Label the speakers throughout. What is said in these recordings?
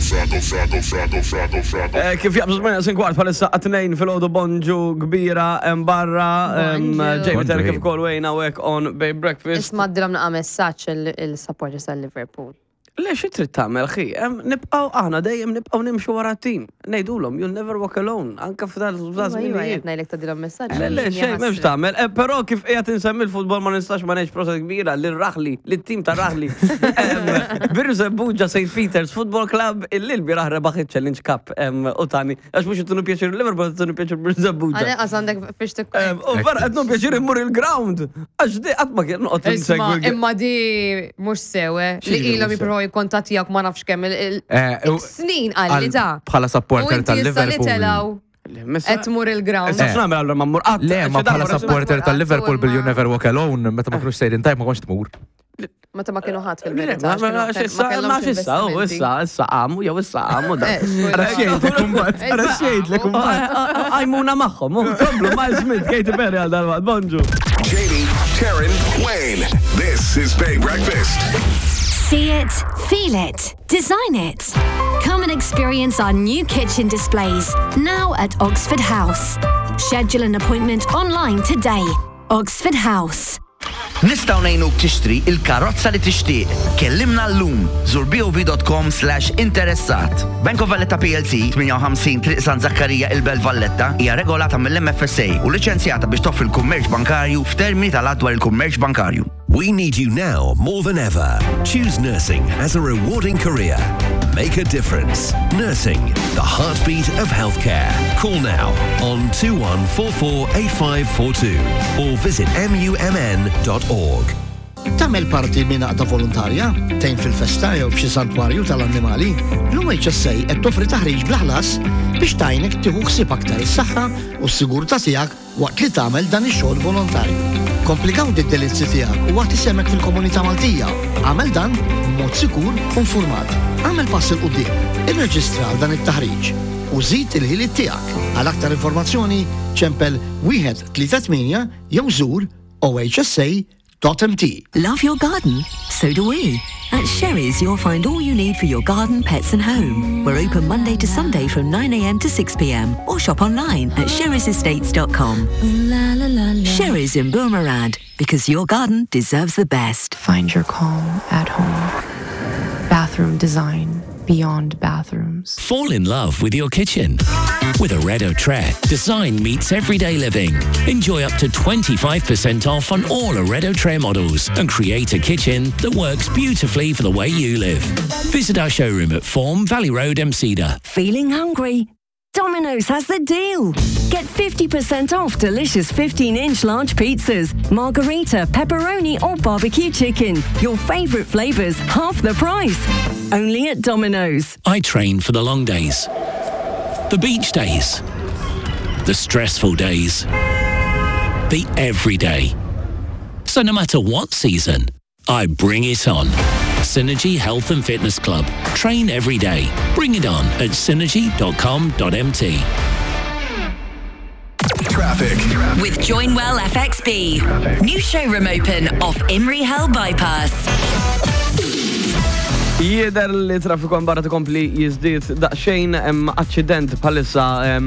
Speaker 1: Eh, kif jaqbżu 8 kwart bħalissa għat-tnejn fil-ħodu bonġu kbira hemm barra Jamie Terry kif ukoll Wayne hawnhekk on Bay Breakfast.
Speaker 2: Isma' dilhom naqa' messaġġ il-supporters tal-Liverpool.
Speaker 1: Le xi trid tagħmel ħi, nibqgħu aħna dejjem nibqgħu nimxu wara t-tim. Ngħidulhom you'll never walk alone, anke f'dal
Speaker 2: żminijiet. Iva, qed ngħidlek tgħaddilhom messaġġ.
Speaker 1: Le, le, xejn m'hemmx tagħmel. Eh, però kif qiegħed insemmi l-futbol ma nistax ma ngħidx proset kbira lil Raħli, lit-tim ta' Raħli. Birżebbuġa St. Peters Football Club illi l-bieraħ rebaħ iċ-Challenge Cup u tani Għax mux jittunu pjaċir Liverpool, jittunu pjaċir Birżebbuġa.
Speaker 2: Għale, għas għandek biex tikku.
Speaker 1: U vera, għetnu pjaċir immur il-ground. Għax di, għatma kien noqgħod
Speaker 2: insegwi. Imma di mux sewe, li ilhom jippruvaw jikkontattijak ma nafx kemm il-snin għalli ta'
Speaker 3: Bħala supporter tal-Liverpool.
Speaker 2: Qed tmur il-ground.
Speaker 1: Issa x'nagħmel allura ma mmur qatt.
Speaker 3: Le, ma bħala supporter tal-Liverpool bil You Never Walk Alone, meta ma kinux sejrin tajb ma kontx tmur.
Speaker 2: Meta ma kienu ħadd fil-verità.
Speaker 1: Ma issa, u issa, issa għamu, jew issa għamu da.
Speaker 3: Ara xejdlek imbagħad, ara xejdlek imbagħad.
Speaker 1: Għajmuna magħhom, komplu Miles Smith, Katy Perry għal dal-waqt, bonġu.
Speaker 4: Jamie, Taryn, Wayne. This is Bay Breakfast.
Speaker 5: See it, feel it, design it. Come and experience our new kitchen displays now at Oxford House. Schedule an appointment online today. Oxford House.
Speaker 6: Nistgħu ngħinuk tixtri il-karozza li tixtieq. Kellimna llum. Żur bov.com/interessat. Bank of Valletta plc, 58 Triq San Zakkarija il-Belt Valletta, hija regolata mill-MFSA u liċenzjata biex toffri l-kummerċ bankarju f'termini tal-Att dwar il-Kummerċ Bankarju.
Speaker 4: We need you now more than ever. Choose nursing as a rewarding career. Make a difference. Nursing, the heartbeat of healthcare. Call now on 21448542 or visit mumn.org.
Speaker 7: Tagħmel parti minn għaqda volontarja, tgħin fil-festa jew f'xi santwarju tal-annimali, l-OHSA qed toffri taħriġ bla ħlas biex tgħinek tieħu ħsieb aktar is-saħħa u s-sigurtà tiegħek waqt li tagħmel dan ix-xogħol volontarju. Kompli gawdi d-delizzi tiegħek u agħti sehmek fil-komunità Maltija. Agħmel dan b'mod sikur u nfurmat. Agħmel pass 'il quddiem, irreġistra għal dan it-taħriġ u żid il-ħiliet tiegħek. Għal aktar informazzjoni ċempel 138 jew żur ohsa.mt.
Speaker 8: Love your garden? So do we. At Sherry's, you'll find all you need for your garden, pets and home. We're open Monday to Sunday from 9am to 6pm or shop online at sherrysestates.com. Sherry's in Burmarad, because your garden deserves the best.
Speaker 9: Find your calm at home. Bathroom design beyond bathrooms.
Speaker 10: Fall in love with your kitchen. With a Red Tre, design meets everyday living. Enjoy up to 25% off on all Arredo Tre models and create a kitchen that works beautifully for the way you live. Visit our showroom at Form Valley Road, Msida.
Speaker 8: Feeling hungry? Domino's has the deal. Get 50% off delicious 15-inch large pizzas, margarita, pepperoni or barbecue chicken. Your favorite flavors, half the price. Only at Domino's.
Speaker 10: I train for the long days, the beach days, the stressful days, the everyday. So no matter what season, I bring it on. Synergy Health and Fitness Club. Train every day. Bring it on at synergy.com.mt.
Speaker 4: Traffic.
Speaker 11: With Joinwell FXB. New showroom open off Imri Hell Bypass.
Speaker 1: Jider li traffiku barra tikompli jiżdied daqsxejn hemm aċċident bħalissa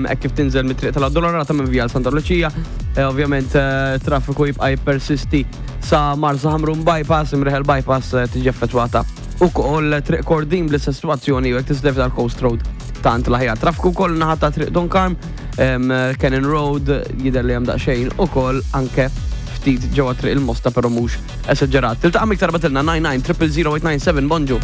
Speaker 1: hekk kif tinżel mit-triq tal-Addolorata minn Via Santa Lucia. Eh, ovvjament eh, traffiku jibqa' jippersisti sa Marsa Ħamrun Bypass, Imriħel Bypass eh, tiġi effettwata ukoll Triq Kordin bl-istess situazzjoni u jekk tislef tal-Coast Road tant l-aħjar. Traffiku wkoll naħa ta' Triq Don Carm, Cannon Road jidher li hemm daqsxejn ukoll anke ftit ġewwa Triq il-Mosta però mhux esaġerat. Tiltaqa' miktar batilna 99 000 897 bonġu.